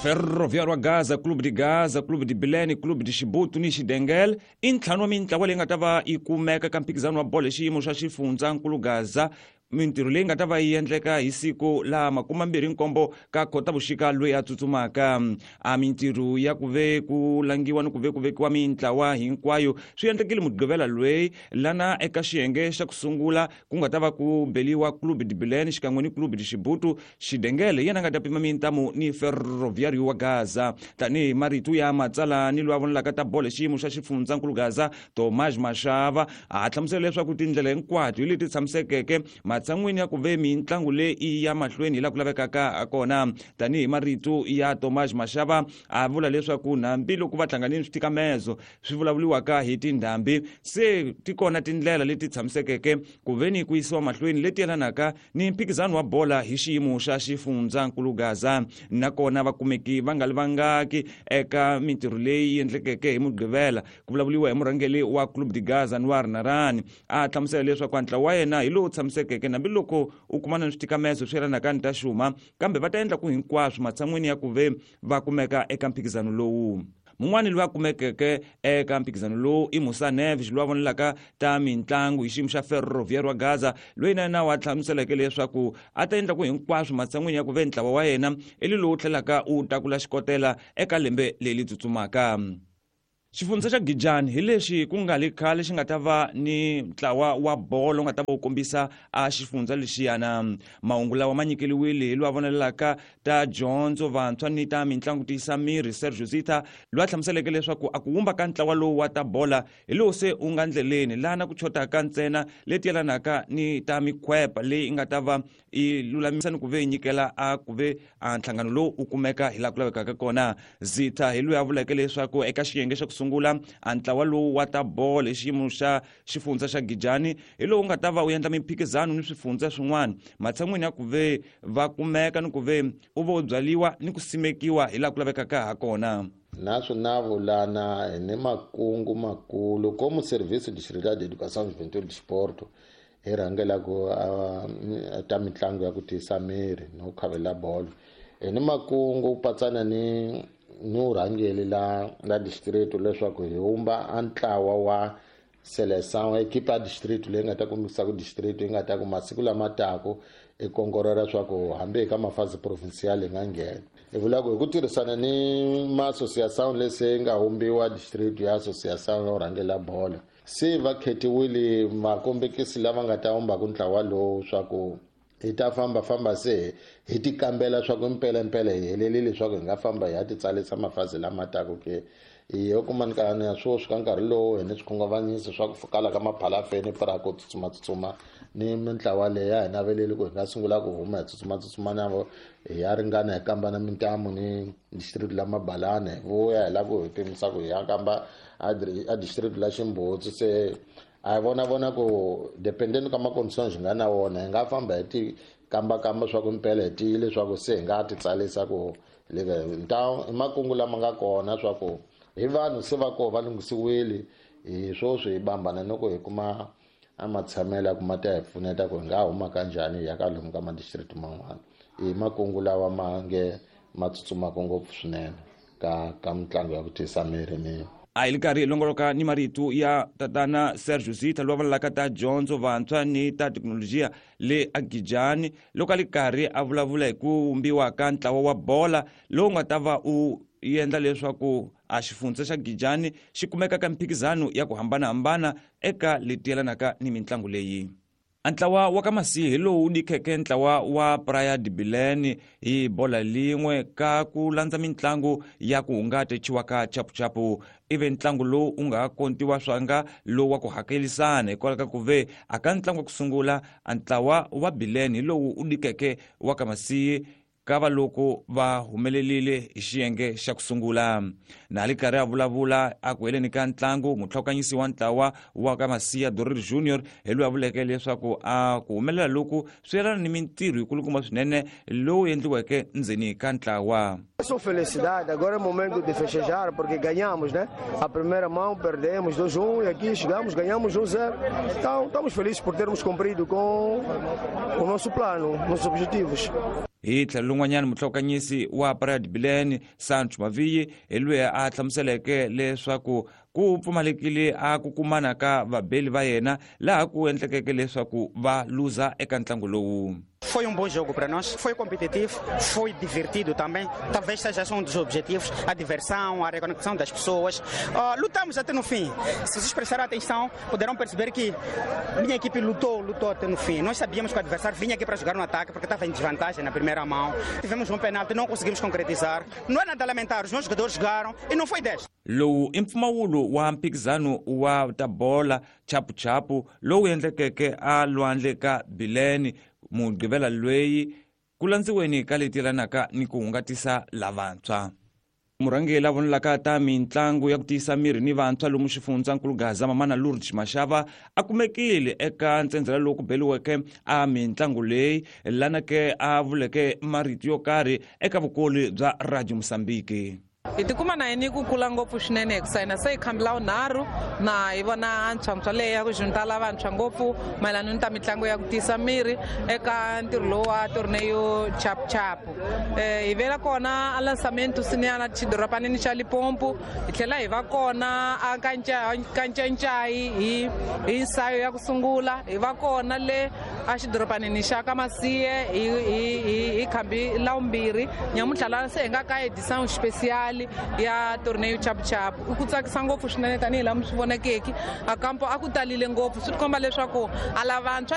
Ferroviário wa Gaza, Clube de Gaza, Clube de Bilene, Clube de Xibutu ni Xidengel i ntlhanu wa mintlawa leyi nga ta va yi kumeka ka mphikizano wa bolo hi xiyimo xa xifundzankulu Gaza. Mintirho leyi nga ta va yi endleka hi siku la 27 ka Khotavuxika loyi a tsutsumaka. A mintirho ya ku ve ku langiwa ni ku ve ku vekiwa mintlawa hinkwayo swi endlekile Mugqivela loyi, lana eka xiyenge xa ku sungula ku nga ta va ku beliwa Clube de Bilene xikan'we ni Clube de Xibutu. Xidengele yena nga ta pima mintamu ni Ferroviário wa Gaza. Tanihi marito ya matsala ni loyi a vonelaka ta bolo hi xiyimo xa xifundzankulu Gaza, Tomás Mashava, a hlamusela leswaku tindlela hinkwato hi leti tshamisekeke matshan'wini ya ku ve mintlangu leyi ya mahlweni hi laha ku lavekaka kona. Tanihi marito ya Tomás Mashava, a vula leswaku hambiloko va hlanganile switikamezo swi vulavuriwaka hi tindhambi, se ti kona tindlela leti tshamisekeke ku veni ku yisiwa mahlweni leti yelanaka ni mphikizano wa bola hi xiyimo xa xifundzankulu Gaza. Nakona vakumeki va nga li vangaki eka mintirho leyi endlekeke hi Mugqivela. Ku vulavuriwa hi murhangeri wa Clube de Gaza, Anwar Narani, a hlamusela leswaku ntlawa wa yena hi lowu tshamisekeke hambiloko u kumana ni switikamezo swi yelanaka ni ta xuma, kambe va ta endla ku hinkwaswo matshan'wini ya ku ve va kumeka eka mphikizano lowu. Mun'wani loyi a kumekeke eka mphikizano lowu i Musa Neves, loyi a vonelaka ta mintlangu hi xiyimo xa Ferroviário wa Gaza, loyi na yena wa hlamuseleke leswaku a ta endla ku hinkwaswo matshan'wini ya ku ve ntlawa wa yena i lowu tlhelaka wu tlakula xikotela eka lembe leri tsutsumaka. Xifundza xa Gijani hi lexi ku nga le khale xi nga ta va ni ntlawa wa bolo nga ta va wu kombisa a xifundza lexiyana. Mahungu lawa ma nyikeliwile hi loyi a vonelaka ta dyondzo vantshwa ni ta mintlangu tiyisa miri, Sergio Zita, loyi a hlamuseleke leswaku a ku wumba ka ntlawa lowu wa ta bola hi lowu se wu nga ndleleni, lana ku chotaka ntsena leti yelanaka ni ta mikhwepa leyi nga ta va yi lulamisa ni ku ve yi nyikela a ku ve a nhlangano lowu wu kumeka hi laha ku lavekaka kona. Zitha hi loyi a vuleke leswaku eka xiyenge xa ku sungula a ntlawa lowu wa ta bolo hi xiyimo xa xifundza xa Gijani hi lowu nga ta va wu endla mimphikizano ni swifundza swin'wana matshan'wini ya ku ve va kumeka ni ku ve u va u byaliwa ni ku simekiwa hi laha ku lavekaka ha kona. Na swinavulana hi ni makungu makulu como Serviço Distrital de Educação, Juventude e Desporto hi rhangelaka ta mitlangu ya ku tiyisa miri no khavela bolo. Hi ni makungu patsana ni urhangeli la distrito leswaku hi humba a ntlawa wa seleção, equipe ya distrito leyi nga ta kombisa ku distrito yi nga ta ku masiku lama taku i kongorera leswaku hambi hi ka mafasi provincial hi nga nghena. Hi vula ku hi ku tirhisana ni ma-associação lesi nga humbiwa distrito ya associação yo rhangela bolo, se va khetiwile makombekisi lava nga ta humbaku ntlawa lowu swa ku hi ta fambafamba se hi ti kambela swa ku mpelampela hi helelile leswaku hi nga famba hi ya ti tsalisa mafazi lama taku ke. Hi yo kuma nkarhi ya sweswi ka nkarhi lowu hi ni swikhunguvanyiso swa ku kala ka maphalafeni pra ku tsutsuma-tsutsuma ni mintlawa leyi ya hi naveleli ku hi nga sungula ku huma hi tsutsuma-tsutsuma na vo hi ya ringana hi kamba na mintamu ni district la Mabalana, hi vuya hi lava ku hi pimisa ku hi ya kamba a district la Ximbutsi. Se a hi vona vona ku dependeni ka ma-conditions hi nga na wona hi nga famba hi ti kambakamba swa ku mpela hi tiyile leswaku se hi nga ti tsalisa ku i makungu lama nga kona swa ku hi vanhu se va koho va lunghisiwile hi swoswi hi bambana ni ku hi kuma a matshamelo ya ku ma ta hi pfuneta ku hi nga huma kanjhani hi ya ka lomu ka ma-district man'wana. I makungu lawa ma nge ma tsutsumaka ngopfu swinene ka mitlangu ya ku tiyisa miri ni A hi li karhi hi longoloka ni marito ya tatana Sergio Zitha loyi a vulavulaka ta dyondzo vantshwa ni ta thekinolojiya le Agijani, loko a li karhi a vulavula hi ku vumbiwa ka ntlawa wa bola lowu nga ta va u endla leswaku a xifundza xa Gijani xi kumeka ka mphikizano ya ku hambanahambana eka leti yelanaka ni mitlangu leyi. A ntlawa wa ka Masihi hi lowu dikheke ntlawa wa Praia de Belém hi bola lin'we ka ku landza mitlangu ya ku hungata chiwaka chapuchapu. Ivi ntlangu lowu u nga kontiwa swanga lowu wa ku hakelisana hikwalaho ka ku ve a ka ntlangu wa ku sungula a ntlawa wa Belém hi lowu u dikeke wa ka Masihi ka va loko va humelelile hi xiyenge xa ku sungula. Na li karhi a vulavula a ku heleni ka ntlangu, mutlhokanyisi wa ntlawa wa ka Masiya Dorir Junior hi loyi a vuleke leswaku a ku humelela loku swi yelana ni mintirho yikulukumba swinene lowu endliweke ndzeni ka ntlawa. Só felicidade, agora é momento de festejar porque ganhamos, né? A primeira mão perdemos 2-1 e aqui chegamos, ganhamos 1-0. Então estamos felizes por termos cumprido com o nosso plano, nossos objetivos. Hi tlhelo lin'wanyana, muhlokanyisi wa Praia de Bilene, Sancho Maviyi, hi loyi a hlamuseleke leswaku ku pfumalekile a ku kumana ka vabeli va yena, laha ku endlekeke leswaku va luza eka ntlangu lowu. Foi um bom jogo para nós, foi competitivo, foi divertido também. Talvez seja um dos objetivos, a diversão, a reconexão das pessoas. Lutamos até no fim. Se vocês prestarem atenção, poderão perceber que minha equipe lutou, lutou até no fim. Nós sabíamos que o adversário vinha aqui para jogar no ataque, porque estava em desvantagem na primeira mão. Tivemos um pênalti, não conseguimos concretizar. Não é nada a lamentar, os meus jogadores jogaram e não foi 10. Lowu i mpfumawulo wa mphikizano wa ta bola chapuchapu lowu endlekeke a lwandle ka Bilene Mugqivela lweyi, ku landziweni ka leti yelanaka ni ku hungatisa lavantshwa. Murhangeri la vonelaka ta mitlangu ya ku tiyisa miri ni vantshwa lomu xifundzankulu Gaza, Mamana Lourdes Mashava, a kumekile eka ntsendzela lowu ku beliweke a mitlangu leyi, lana ke a vuleke marito yo karhi eka vukoli bya Radio Mosambiki. Hi tikuma na yini ku kula ngopfu swinene hi ku sayina se hi khambi la vunharhu na hi vona antshwantshwa leyi ya ku juntala vantshwa ngopfu mayelana ni ta mitlangu ya ku tiyisa miri eka ntirho lowu wa torneio chapuchapu. Hi vela kona a lançamento siniyana xidoropanini xa Limpopo, hi tlhela hi va kona a Kancancai hi nsayo ya ku sungula, hi va kona le a xidoropanini xa ka Masiye hi khambi la vumbirhi. Nyamuntlha la se hi nga ka edição especial ya torneio chapuchapu. I ku tsakisa ngopfu swinene tanihi laha mi swi vonekeki a kampo a ku talile ngopfu, swi tikomba leswaku a lavantshwa.